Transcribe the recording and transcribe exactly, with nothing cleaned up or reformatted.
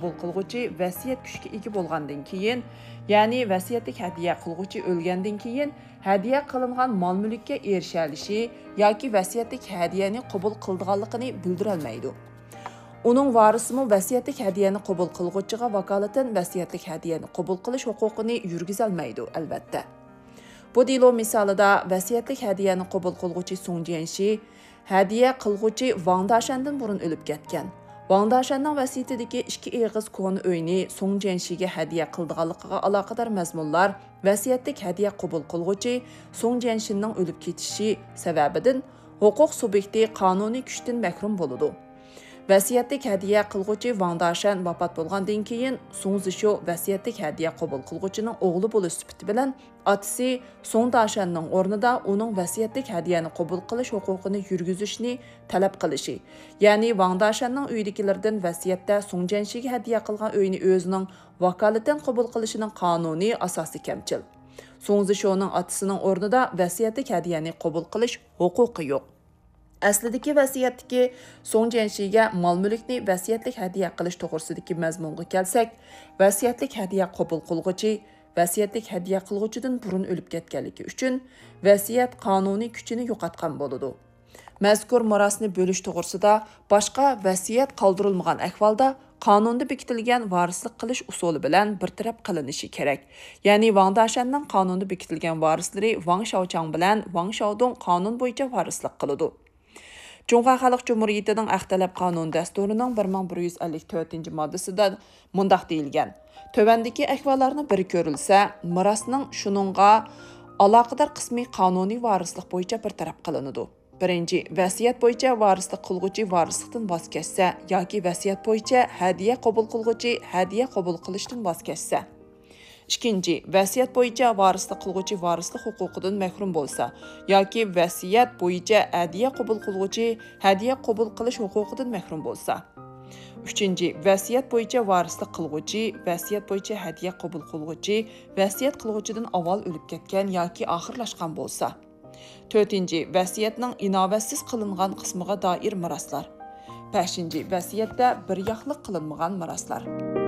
قوبۇل قىلغۇچى ۋەسىيەت كۈچكە ئىگە بولغاندىن كېيىن، يەنى ۋەسىيەتلىك ھەدىيە قىلغۇچى ئۆلگەندىن كېيىن، ھەدىيە قىلىنغان مال-مۈلۈككە ئېرىشەلىشى ياكى ۋەسىيەتلىك ھەدىيەنى قوبۇل قىلىدىغانلىقىنى بىلدۈرەلمەيدۇ. ئۇنىڭ ۋارىسىمۇ ۋەسىيەتلىك ھەدىيەنى قوبۇل قىلغۇچىغا ۋاكالىتەن ۋەسىيەتلىك ھەدىيەنى قوبۇل قىلىش ھوقۇقىنى يۈرگۈزەلمەيدۇ، ئەلۋەتتە. بۇ دېلو مىسالىدا ۋەسىيەتلىك ھەدىيەنى قوبۇل قىلغۇچى سۇڭ جيەنشى ھەدىيە قىلغۇچى ۋاڭ داشەندىن بۇرۇن ئۆلۈپ كەتكەن. ۋاڭ داشەننىڭ ۋەسىيىتىدىكى ئىككى ئېغىز كونا ئۆينى سۇڭ جيەنشىگە ھەدىيە قىلىدىغانلىقىغا ئالاقىدار مەزمۇنلار ۋەسىيەتلىك ھەدىيە قوبۇل قىلغۇچى سۇڭ جيەنشىننىڭ ئۆلۈپ كېتىشى سەۋەبىدىن ھوقۇق سۇبيېكتى قانۇنىي كۈچتىن مەھرۇم بولىدۇ. ۋەسىيەتلىك ھەدىيە قىلغۇچى ۋاڭ داشەن ۋاپات بولغاندىن كېيىن، سۇڭ زىشو ۋەسىيەتلىك ھەدىيە قوبۇل قىلغۇچىنىڭ ئوغلى بولۇش سۈپىتى بىلەن ئاتىسى سۇڭ داشەننىڭ ئورنىدا ئۇنىڭ ۋەسىيەتلىك ھەدىيەنى قوبۇل قىلىش ھوقۇقىنى يۈرگۈزۈشنى تەلەپ قىلىشى، يەنى ۋاڭ داشەننىڭ ئۆيىدىكىلىرىدىن ۋەسىيەتتە سۇڭ جيەنشىگە ھەدىيە قىلغان ئۆينى ئۆزىنىڭ ۋاكالىتەن قوبۇل قىلىشىنىڭ قانۇنىي ئاساسى كەمچىل. سۇڭ زىشونىڭ ئاتىسىنىڭ ئورنىدا ۋەسىيەتلىك ھەدىيەنى قوبۇل قىلىش ھوقۇقى يوق. ئەسلىدىكى ۋەسىيەتتىكى سۇڭ جيەنشىگە مال-مۈلۈكنى ۋەسىيەتلىك ھەدىيە قىلىش توغرىسىدىكى مەزمۇنغا كەلسەك، ۋەسىيەتلىك ھەدىيە قوبۇل قىلغۇچى ۋەسىيەتلىك ھەدىيە قىلغۇچىدىن بۇرۇن ئۆلۈپ كەتكەنلىكى ئۈچۈن، ۋەسىيەت قانۇنىي كۈچىنى يوقاتقان بولىدۇ. مەزكۇر مىراسنى بۆلۈش توغرىسىدا باشقا ۋەسىيەت قالدۇرۇلمىغان ئەھۋالدا، قانۇندا بېكىتىلگەن ۋارىسلىق قىلىش ئۇسۇلى بىلەن بىر تەرەپ قىلىنىشى كېرەك. يەنى ۋاڭ داشەننىڭ قانۇندا بېكىتىلگەن ۋارىسلىرى ۋاڭ شياۋچاڭ بىلەن ۋاڭ شياۋدۇڭ قانۇن بويىچە ۋارىسلىق قىلىدۇ. جۇڭخۇا خەلق جۇمھۇرىيىتىنىڭ ھەق تەلەپ قانۇن دەستۇرىنىڭ بىر مىڭ بىر يۈز ئەللىك تۆتىنچى ماددىسىدا مۇنداق دېيىلگەن: تۆۋەندىكى ئەھۋاللارنىڭ بىرى كۆرۈلسە، مىراسنىڭ شۇنىڭغا ئالاقىدار قىسمى قانۇنىي ۋارىسلىق بويىچە بىر تەرەپ قىلىنىدۇ. بىرىنچى، ۋەسىيەت بويىچە ۋارىسلىق قىلغۇچى ۋارىسلىقتىن ۋاز كەچسە ياكى ۋەسىيەت بويىچە ھەدىيە قوبۇل قىلغۇچى ھەدىيە قوبۇل قىلىشتىن ۋاز كەچسە. ئىككىنچى، ۋەسىيەت بويىچە ۋارىسلىق قىلغۇچى ۋارىسلىق ھوقۇقىدىن مەھرۇم بولسا ياكى ۋەسىيەت بويىچە ھەدىيە قوبۇل قىلغۇچى ھەدىيە قوبۇل قىلىش ھوقۇقىدىن مەھرۇم بولسا. ئۈچىنچى، ۋەسىيەت بويىچە ۋارىسلىق قىلغۇچى، ۋەسىيەت بويىچە ھەدىيە قوبۇل قىلغۇچى، ۋەسىيەت قىلغۇچىدىن ئاۋۋال ئۆلۈپ كەتكەن ياكى ئاخىرلاشقان بولسا. تۆتىنچى، ۋەسىيەتنىڭ ئىناۋەتسىز قىلىنغان قىسمىغا دائىر مىراسلار. بەشىنچى، ۋەسىيەتتە بىر ياقلىق قىلىنمىغان مىراسلار.